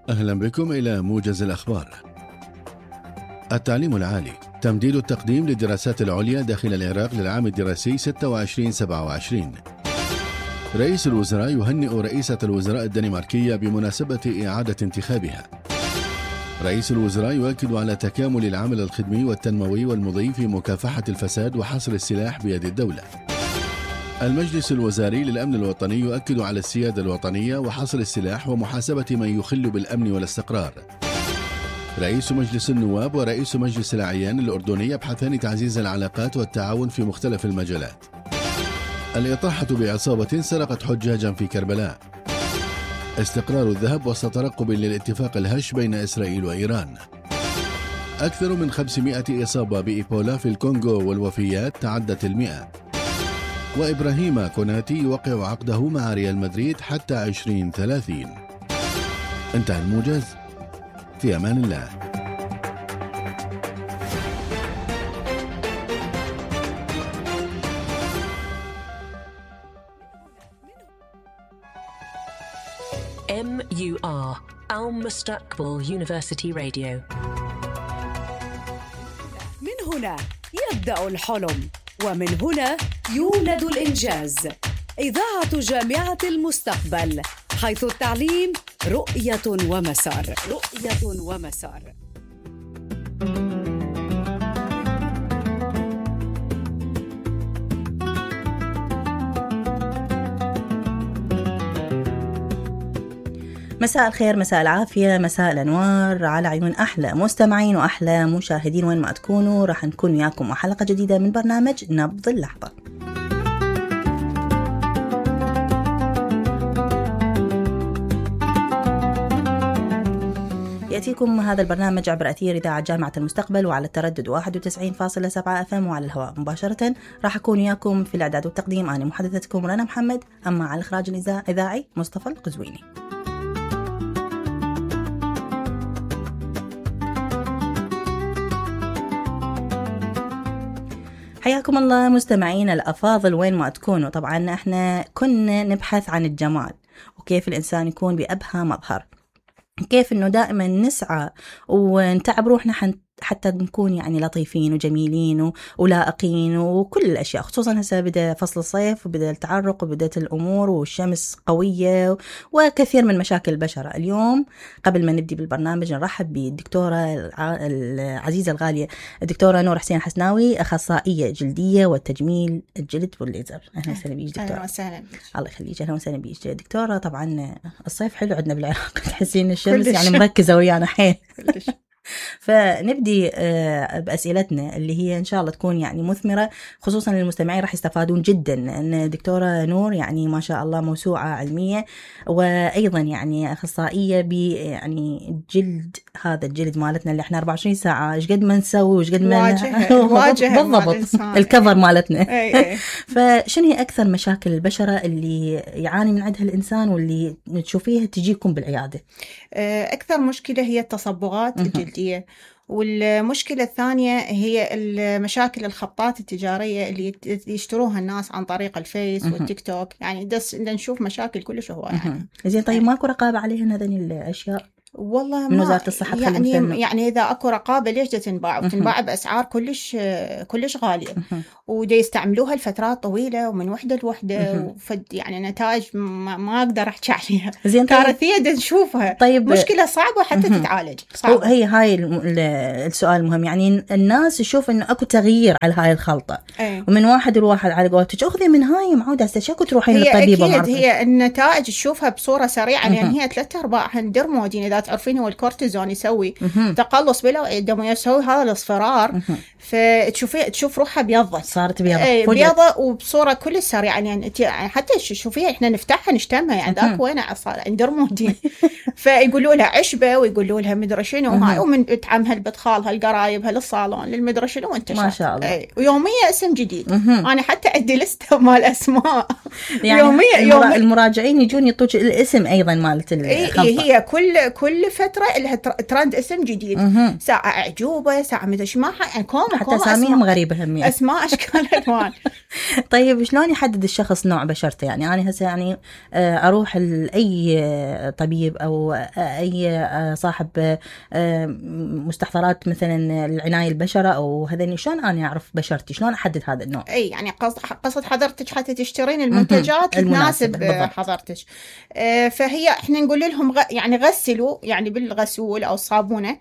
أهلا بكم إلى موجز الأخبار. التعليم العالي، تمديد التقديم للدراسات العليا داخل العراق للعام الدراسي 26-27. رئيس الوزراء يهنئ رئيسة الوزراء الدنماركية بمناسبة إعادة انتخابها. رئيس الوزراء يؤكد على تكامل العمل الخدمي والتنموي والمضي في مكافحة الفساد وحصر السلاح بيد الدولة. المجلس الوزاري للأمن الوطني يؤكد على السيادة الوطنية وحصر السلاح ومحاسبة من يخل بالأمن والاستقرار. رئيس مجلس النواب ورئيس مجلس الأعيان الأردني يبحثان تعزيز العلاقات والتعاون في مختلف المجالات. الإطاحة بعصابة سرقت حجاجا في كربلاء. استقرار الذهب وسط ترقب للاتفاق الهش بين إسرائيل وإيران. أكثر من 500 إصابة بإيبولا في الكونغو والوفيات تعدت 100. وإبراهيم كوناتي يوقع عقده مع ريال مدريد حتى 2030. انتهى الموجز، في أمان الله. MUR المستقبل University Radio. من هنا يبدأ الحلم، ومن هنا يولد الإنجاز. إذاعة جامعة المستقبل، حيث التعليم رؤية ومسار. مساء الخير، مساء العافية، مساء الأنوار على عيون أحلى مستمعين وأحلى مشاهدين وين ما تكونوا. راح نكون وياكم وحلقة جديدة من برنامج نبض اللحظة. يأتيكم هذا البرنامج عبر أثير إذاعة جامعة المستقبل وعلى التردد 91.7 FM وعلى الهواء مباشرة. راح أكون وياكم في الإعداد والتقديم أنا محدثتكم رنا محمد، أما على الإخراج الإذاعي مصطفى القزويني. حياكم الله مستمعين الأفاضل وين ما تكونوا. طبعا احنا كنا نبحث عن الجمال وكيف الإنسان يكون بأبهى مظهر، كيف انه دائما نسعى ونتعب روحنا حتى نكون يعني لطيفين وجميلين ولائقين وكل الأشياء، خصوصا هسه بدأ فصل الصيف وبدأ التعرق وبدأت الأمور والشمس قوية وكثير من مشاكل البشرة. اليوم قبل ما نبدي بالبرنامج نرحب بالدكتورة العزيزة الغالية الدكتورة نور حسين حسناوي، أخصائية جلدية وتجميل الجلد والليزر. أهلا وسهلا بيك دكتورة. أهلا وسهلا بيك. الله يخليك. أهلا وسهلا بيك دكتورة. طبعا الصيف حلو عندنا بالعراق، تحسين الشمس يعني مركزة ويانا حيل. فنبدي بأسئلتنا اللي هي إن شاء الله تكون يعني مثمرة، خصوصا للمستمعين راح يستفادون جدا، أن دكتورة نور يعني ما شاء الله موسوعة علمية وأيضا يعني أخصائية يعني جلد، هذا الجلد مالتنا اللي احنا 24 ساعة ايش قد ما نسوي وش قد ما واجهة بالضبط الكفر مالتنا. فشنو هي أكثر مشاكل البشرة اللي يعاني من عندها الإنسان واللي تشوفيها تجيكم بالعيادة؟ أكثر مشكلة هي التصبغات الجلدية، والمشكلة الثانية هي المشاكل الخطات التجارية اللي يشتروها الناس عن طريق الفيس والتيك توك، يعني نشوف مشاكل كلش هواية يعني. زين طيب ماكو رقابة عليهن هذين الأشياء؟ والله من وزارة الصحة يعني إذا أكو رقابة ليش تنباع وتنباع بأسعار كلش غالية، ودي يستعملوها لفترات طويلة ومن وحدة لوحدة، وفد يعني نتائج ما أقدر أحكي عليها. زين كارثية دي نشوفها. طيب مشكلة صعبة حتى تتعالج صعبة. هي هاي السؤال المهم، يعني الناس تشوف إنه أكو تغيير على هاي الخلطة ومن واحد لواحد على قولتك أخذي من هاي معودة شكو تروحين للطبيبة. هي أكيد هي النتائج تشوفها بصورة سريعة، لأن هي 3/4 درمودين. إذا تعرفين هو الكورتيزون يسوي تقلص بالأوعية الدموية، يسوي هذا الأصفرار، فتشوف روحها بيضت، صارت بيضة بيضة وبصورة كل سريعة. يعني حتى شوفيها إحنا نفتحها نشتمها يعني ذاك وين صار درمودين. فيقولوا لها عشبة ويقولوا لها مدري شنو هاي، ومن تعمها لبدخالها القرايبها للصالون للمدري شنو وانت ما شاء الله. ويومية اسم جديد. أنا حتى عندي لستة مال أسماء يعني يومية المراجعين يجون يطوج الاسم أيضا مالت الخلطة. هي كل فترة لها ترند اسم جديد، ساعة أعجوبة، ساعة مدري ما يعني حتى أساميهم غريبة هم أسماء أشكال ألوان. طيب شلون يحدد الشخص نوع بشرته؟ يعني أنا هسه يعني أروح لأي طبيب أو أي صاحب مستحضرات مثلا العناية البشرة أو هذني، شلون أنا أعرف بشرتي؟ شلون أحدد هذا النوع؟ أي يعني قصد حضرتك حتى تشترين المنتجات تناسب حضرتك. فهي احنا نقول لهم يعني غسلوا يعني بالغسول أو الصابونة،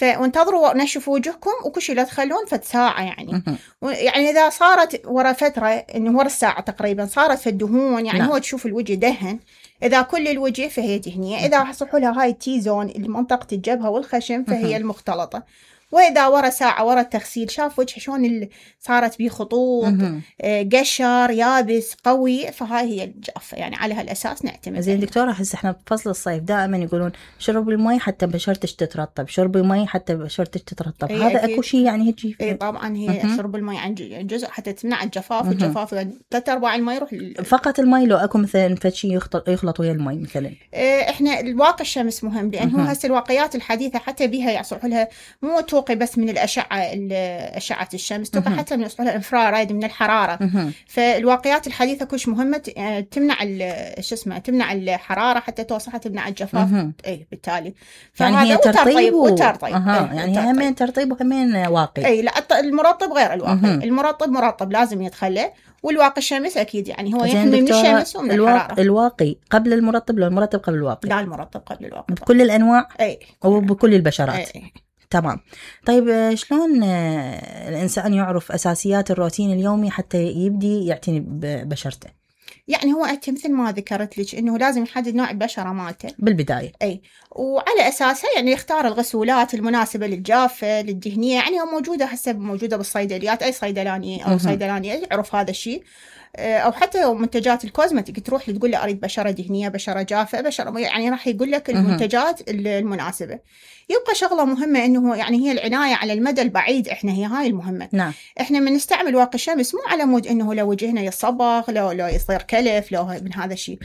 وانتظروا نشفوا وجهكم وكل شيء لا تخلون فد ساعة يعني. يعني إذا صارت ورا فترة إنه ورا الساعة تقريبا صارت في الدهون يعني هو تشوف الوجه دهن. إذا كل الوجه فهي دهنية. إذا صحوا لها هاي التي زون منطقة الجبهة والخشم فهي المختلطة. وإذا ورا ساعة ورا التغسيل شاف وجه شلون صارت بيه خطوط قشر يابس قوي، فهاي هي الجافة. يعني على هالأساس نعتمد. زين دكتورة، هسه احنا بفصل الصيف دائما يقولون شرب المي حتى بشرتك تترطب، شرب المي حتى بشرتك تترطب. هذا اكو شيء يعني هيجي؟ اي طبعا هي شرب المي عن جزء حتى تمنع الجفاف. الجفاف 3/4 المي يروح فقط المي، لو اكو مثلا فشي يخلط ويا المي مثلا. احنا الواقي الشمس مهم، لانه هسه الواقيات الحديثة حتى بها يصلحوا لها مو توقي بس من أشعة الشمس، توقي حتى من يصلحوا لها انفراريد من الحرارة. فالواقيات الحديثة كلش مهمة تمنع تمنع الحرارة حتى توصل تمنع الجفاف. اي بالتالي يعني هي ترطيب وترطيب. يعني همين ترطيب وهمين واقي. اي لا، المرطب غير الواقي. المرطب مرطب لازم يدخله، والواقي الشمس اكيد يعني هو يحمي من الشمس ومن الحرارة. الواقي قبل المرطب لو المرطب قبل الواقي؟ لا، المرطب قبل الواقي بكل الانواع. اي وبكل البشرات. أي. تمام. طيب شلون الإنسان يعرف أساسيات الروتين اليومي حتى يبدي يعتني ببشرته؟ يعني هو أنت مثل ما ذكرت لك إنه لازم يحدد نوع البشرة مالته بالبداية. أي، وعلى أساسها يعني يختار الغسولات المناسبة للجافة للدهنية. يعني موجودة بالصيدليات، أي صيدلانية أو صيدلانية يعرف هذا الشيء. أو حتى منتجات الكوزمتيك تروح تقول له أريد بشرة دهنية، بشرة جافة، بشرة، يعني راح يقول لك المنتجات المناسبة. يبقى شغلة مهمة إنه يعني هي العناية على المدى البعيد. إحنا هي هاي المهمة. نعم. إحنا من نستعمل واقي الشمس مو على مود إنه لو وجهنا يصبغ، لو يصير كلف، لو من هذا الشيء.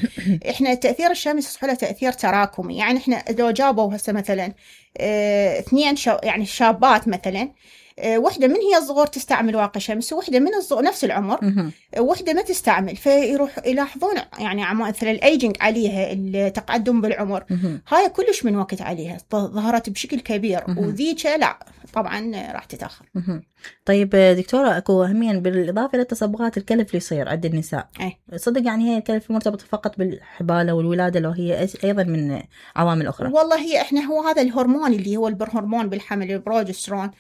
إحنا تأثير الشمس يصح له تأثير تراكمي. يعني إحنا لو جابوا هسه مثلا 2 يعني شابات مثلا، وحدة من هي الصغور تستعمل واقي شمس، وحدة من الصغور نفس العمر وحدة ما تستعمل، فيروح يلاحظون يعني مثلا الايجنج عليها، التقدم بالعمر. هاي كلش من وقت عليها ظهرت بشكل كبير، وذيك لا طبعا راح تتأخر. طيب دكتورة، اكو همين بالاضافة للتصبغات الكلف اللي يصير عند النساء. صدق يعني هي الكلف مرتبط فقط بالحبالة والولادة، لو هي ايضا من عوامل اخرى؟ والله هي احنا هو هذا الهرمون اللي هو الهرمون بالحمل، البروجسترون،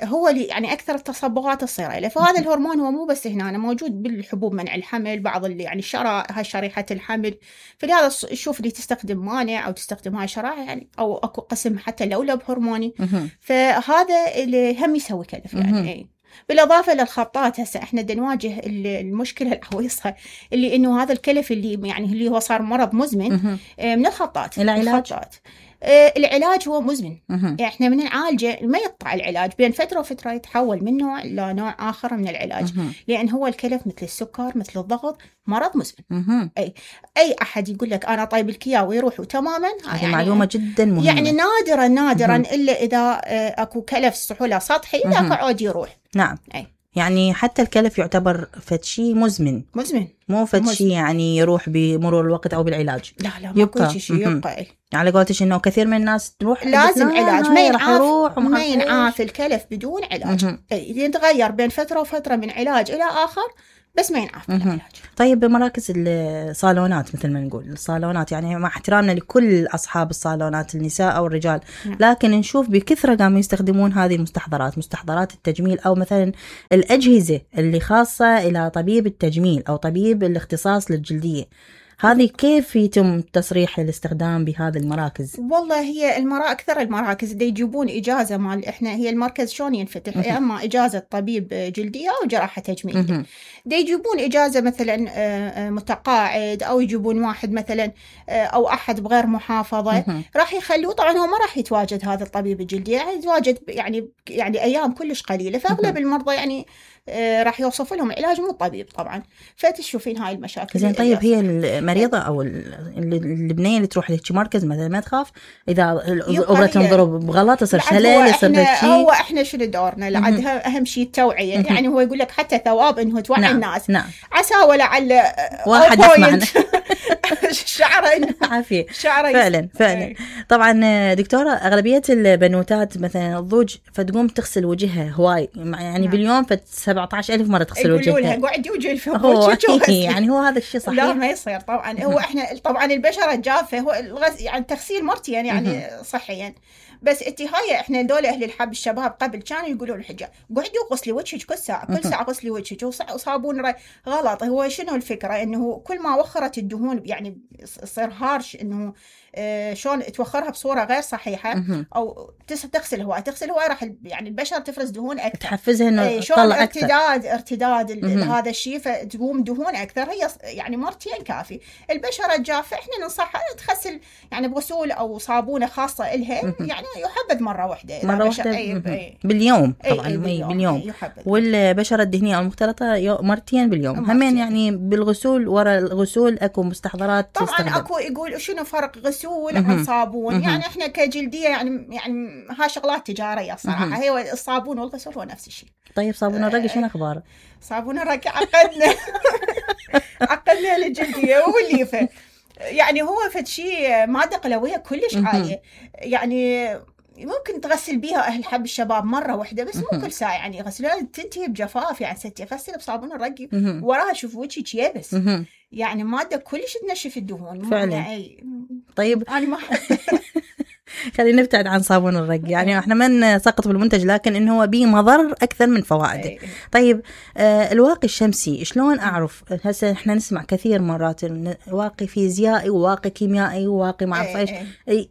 هو اللي يعني اكثر التصبغات تصير له. فهذا الهرمون هو مو بس هنا، موجود بالحبوب منع الحمل، بعض اللي يعني هاي شريحة الحمل. فلهذا شوف اللي تستخدم مانع او تستخدم هاي شرائح يعني، او اكو قسم حتى لولب هرموني. فهذا اللي هم يسوي كلف يعني. بالإضافة للخطات، هسه إحنا نواجه المشكلة العويصة اللي إنه هذا الكلف اللي يعني اللي هو صار مرض مزمن من الخطات. العلاج هو مزمن. يعني احنا من نعالجه ما يقطع العلاج، بين فترة وفترة يتحول من نوع إلى نوع آخر من العلاج. لأن هو الكلف مثل السكر مثل الضغط مرض مزمن. أي أحد يقول لك أنا طيب الكيا ويروح تماما، هذه يعني معلومة جدا مهمة. يعني نادرا إلا إذا أكو كلف سحولة سطحي، ذاك عود يروح. نعم. يعني حتى الكلف يعتبر فتشي مزمن، مو فتشي يعني يروح بمرور الوقت أو بالعلاج. لا يبقى شيء يبقى. يعني قلتش إنه كثير من الناس تروح لازم علاج، ما ينعاف الكلف بدون علاج. يتغير بين فترة وفترة من علاج إلى آخر، بس ما ينعاف بالعلاج. طيب بمراكز الصالونات مثل ما نقول، الصالونات يعني مع احترامنا لكل أصحاب الصالونات النساء أو الرجال، لكن نشوف بكثرة قاموا يستخدمون هذه المستحضرات، مستحضرات التجميل، أو مثلا الأجهزة اللي خاصة إلى طبيب التجميل أو طبيب الاختصاص للجلدية. هذه كيف يتم تصريح الاستخدام بهذه المراكز؟ والله هي أكثر المراكز دي يجيبون إجازة مال إحنا، هي المركز شلون ينفتح، يا أما إجازة طبيب جلدية أو جراحة تجميل. دي يجيبون إجازة مثلا متقاعد، أو يجيبون واحد مثلا أو أحد بغير محافظة، راح يخلوه. طبعا هو ما راح يتواجد هذا الطبيب الجلدية، يعني يتواجد يعني أيام كلش قليلة. فأغلب المرضى يعني راح يوصف لهم علاج مو طبيب طبعا. فتشوفين هاي المشاكل. زين طيب هي مريضة أو البنية اللي تروح لهيك مركز مثلا ما تخاف إذا الأبرة تنضرب بغلط يصير شلل يصير هالشيء. هو إحنا شنو دورنا لعدها أهم شيء التوعية. يعني هو يقول لك حتى ثواب إنه توعي الناس. نعم. عسى ولعل واحد يسمعنا شعره إنه عافية فعلا. طبعا دكتورة أغلبية البنوتات مثلا الضوج فتقوم تغسل وجهها هواي يعني باليوم 17,000 مرة تغسل وجهها. يقولوا لها قعدي وجهي يعني هو هذا الشيء صحيح؟ لا ما يصير طبعا. هو احنا طبعا البشرة الجافة هو يعني تغسيل مرتين يعني صحيا. بس هاي احنا دول اهل الحب الشباب قبل كانوا يقولوا الحجاب قعدي وغسلي وجهك كل ساعه غسلي وجهك وصابون غلط. هو شنو الفكره انه كل ما وخرت الدهون يعني يصير هارش انه شلون توخرها بصوره غير صحيحه او تغسل هواي راح يعني البشره تفرز دهون اكثر تحفزها انه تطلع اكثر ارتداد هذا الشيء فتقوم دهون اكثر. هي يعني مرتين كافي. البشره الجافه احنا ننصحها تغسل يعني بغسول او صابونه خاصه لها يعني يحبذ مره واحده باليوم طبعا باليوم. والبشره الدهنيه او المختلطه مرتين باليوم همين يعني بالغسول. ورا الغسول اكو مستحضرات طبعا تستخدم. اكو يقول شنو فرق غسول عن صابون. يعني احنا كجلديه يعني ها شغلات تجاريه صراحه. هي الصابون والغسول هو نفس الشيء. طيب صابون الرقي شنو اخباره؟ صابون الرقي عقدنا للجلديه والليفه. يعني هو فد شيء ماده قلويه كلش عاليه. يعني ممكن تغسل بيها أهل حب الشباب مرة واحدة بس مو كل ساعة. يعني غسلها تنتهي بجفاف. يعني ستي غسل بصابون الرقي وراها شوف وجهك يابس. يعني مادة كلش تنشف الدهون فعلا. طيب أنا ما خلينا نبتعد عن صابون الرقي. يعني احنا ما نسقط بالمنتج لكن انه هو به مضر اكثر من فوائده. طيب الواقي الشمسي شلون اعرف؟ هسه احنا نسمع كثير مرات واقي فيزيائي وواقي كيميائي وواقي ما اعرف ايش.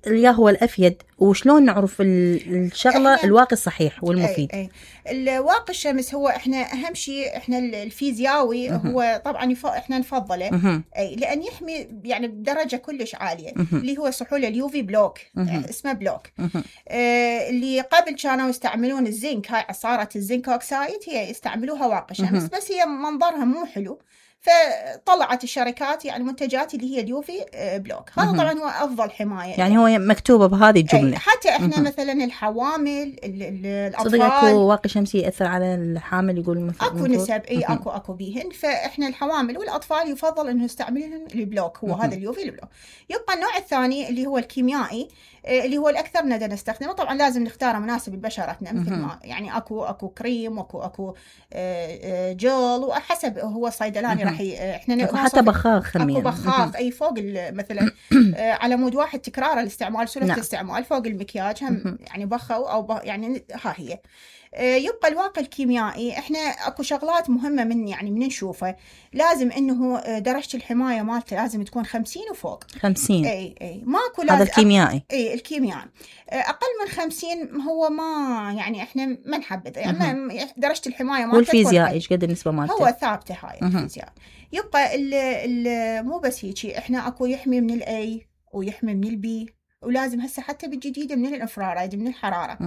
يا هو الافيد وشلون نعرف الشغله الواقي الصحيح والمفيد؟ الواقي الشمس هو احنا اهم شيء احنا الفيزيائي هو طبعا احنا نفضله لان يحمي يعني بدرجه كلش عاليه اللي هو سحول اليوفي بلوك. اسمه بلوك. اللي قبل كانوا يستعملون الزنك. هاي عصاره الزنك اوكسايد هي يستعملوها واقي شمس بس هي منظرها مو حلو فطلعت الشركات يعني منتجات اللي هي اليوفي بلوك. هذا طبعا هو افضل حمايه. يعني هو مكتوبه بهذه الجمله. حتى احنا مثلا الحوامل الاطفال صدق اكو واقي شمسي ياثر على الحامل يقول اكو نسب اكو بيهن. فاحنا الحوامل والاطفال يفضل انه يستعملون البلوك. هو هذا اليوفي البلوك. يبقى النوع الثاني اللي هو الكيميائي اللي هو الاكثر ندى نستخدمه. طبعا لازم نختاره مناسب لبشرتنا مثل ما يعني اكو كريم واكو جل وحسب هو الصيدلاني راح احنا حتى بخاخ اكو بخاخ اي فوق مثلا على مود واحد تكرار الاستعمال سلفة الاستعمال فوق المكياج هم يعني بخوا او يعني ها هي. يبقى الواقي الكيميائي احنا اكو شغلات مهمه من يعني من نشوفه. لازم انه درجه الحمايه مالته لازم تكون 50 وفوق 50. اي ماكو هذا الكيميائي. الكيميائي اقل من 50 هو ما يعني احنا ما نحبذ. يعني درجه الحمايه مالته والفيزيائي ايش قد النسبه مالته؟ هو ثابته هاي الفيزياء. يبقى مو بس هيك احنا اكو يحمي من الاي ويحمي من البي ولازم هسه حتى بالجديدة من الانفراريد من الحرارة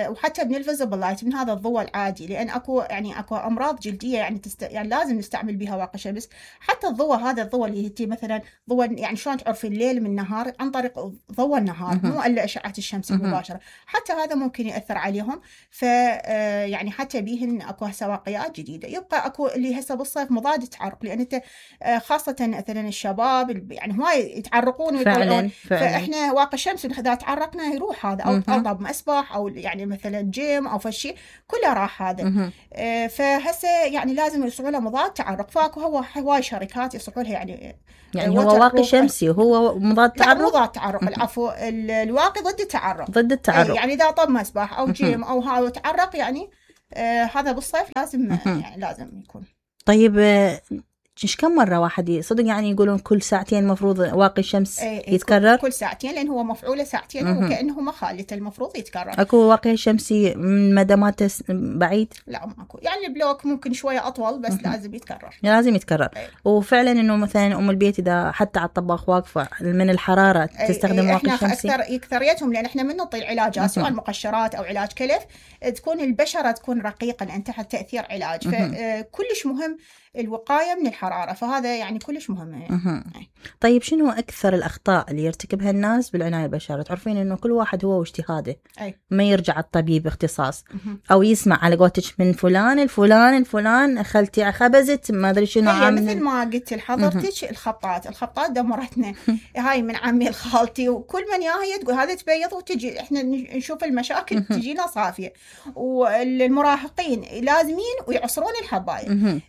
وحتى من الفيزبل لايت من هذا الضوء العادي. لأن أكو أمراض جلدية يعني يعني لازم نستعمل بها واقي شمس. حتى هذا الضوء اللي هي مثلا ضوء يعني شلون تعرفي الليل من النهار عن طريق ضوء النهار مو إلا أشعة الشمس المباشرة. حتى هذا ممكن يأثر عليهم. يعني حتى بيهن أكو هسه واقيات جديدة. يبقى أكو اللي هسه بالصيف مضاد التعرق. لأن أنت خاصة مثلا الشباب يعني هواي يتعرقون ويطلعون. فإحنا واقي الشمس إذا تعرقنا يروح هذا أو أضرب مسبح أو يعني مثلا جيم أو فشي كله راح هذا. فهسه يعني لازم يصنعوا له مضاد تعرق. فاكو هواي شركات يصنعوا لها يعني هو واقي شمسي وهو مضاد تعرق. لا مضاد تعرق العفو الواقي ضد التعرق. ضد التعرق يعني إذا طب مسبح أو جيم أو هذا تعرق يعني هذا بالصيف لازم يعني لازم يكون. طيب إيش كم مرة واحد صدق يعني يقولون كل ساعتين مفروض واقي الشمس يتكرر؟ كل ساعتين لأن هو مفعوله ساعتين وكأنه مخالته المفروض يتكرر. أكو واقي شمسي من مدامات بعيد؟ لا ماكو. يعني البلوك ممكن شوية أطول بس لازم يتكرر. لازم يتكرر. وفعلا إنه مثلا أم البيت إذا حتى على الطباخ واقفة من الحرارة تستخدم واقي شمسي. إحنا أكثريتهم لأن إحنا من نعطي العلاجات سواء مقشرات أو علاج كلف تكون البشرة تكون رقيقة لأن تحت تأثير علاج. فكلش مهم الوقاية من الحرارة، فهذا يعني كلش مهم يعني. طيب شنو أكثر الأخطاء اللي يرتكبها الناس بالعناية بالبشرة؟ تعرفين إنه كل واحد هو واجتهاده، ما يرجع الطبيب اختصاص أو يسمع على قولتك من فلان الفلان أخلتي خبزت ما أدري شنو عامل. مثل ما قلت لحضرتك الخطات دمرتنا. هاي من عمي الخالتي وكل من ياهي تقول هذا تبيض وتجي إحنا نشوف المشاكل تجينا صافية. والمراهقين لازمين ويعصرون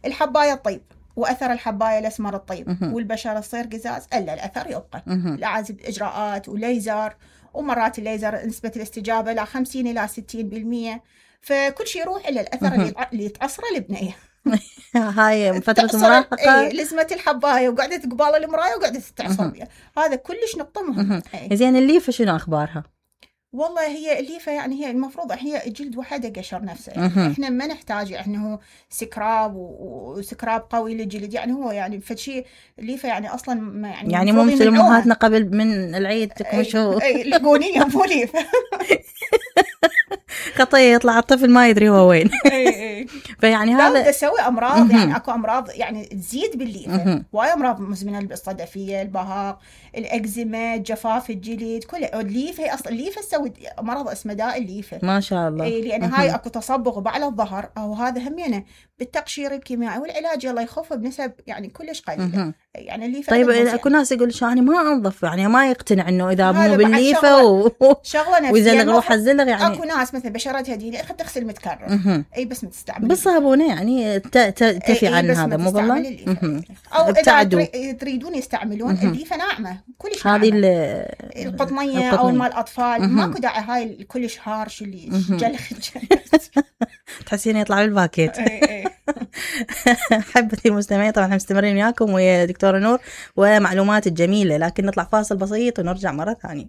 الحباية الطيب وأثر الحباية الأسمر الطيب والبشرة تصير قزاز إلا الأثر يبقى. لازم إجراءات وليزر، ومرات الليزر نسبة الاستجابة لا 50 إلى 60%، فكل شيء يروح إلى الأثر اللي يتعصره البنية. هاي فترة المراهقة لزمة الحباية وقعدت قبال المراية وقعدت تتعصر بيها، هذا كلش نقطة مهمة. زين الليفة شنو أخبارها؟ والله هي الليفة يعني هي المفروض هي جلد وحده قشر نفسه، يعني احنا ما نحتاج انه سكراب وسكراب قوي للجلد، يعني هو يعني فشي الليفة يعني اصلا ما يعني ممكن امهاتنا قبل من العيد تكمشوا لقونيه مو ليفة. خطية يطلع الطفل ما يدري هو وين. فيعني هذا تسوي امراض، يعني اكو امراض يعني تزيد بالليفة، واي امراض مزمنة، الصدفية، البهاق، الاكزيما، جفاف الجلد، كل الليفة هي اصلا الليفة تسوي مرض اسمه داء الليفة ما شاء الله. لان هاي اكو تصبغ بعلى الظهر، او هذا همينه بالتقشير الكيميائي والعلاج يلا يخف بنسب يعني كلش قليله. يعني الليفة طيب اكو ناس يقول يعني ما انظف، يعني ما يقتنع انه اذا مو بالليفة ويزلغ روح الزلغ. يعني اكو ناس مثلا بشرتها دي خد تغسل متكرر اي بس ما تستعمل بالصابونه، يعني تفي عن هذا مو والله. او اذا تريدون يستعملون الليفة ناعمه كلش، هذه القطنيه او مال الاطفال ماكو داعي هاي كلش هارش اللي جلخ تحسين يطلع بالباكيت. حبتي المستمعين طبعا مستمرين وياكم ويا دكتورة نور ومعلومات الجميلة، لكن نطلع فاصل بسيط ونرجع مرة ثانية.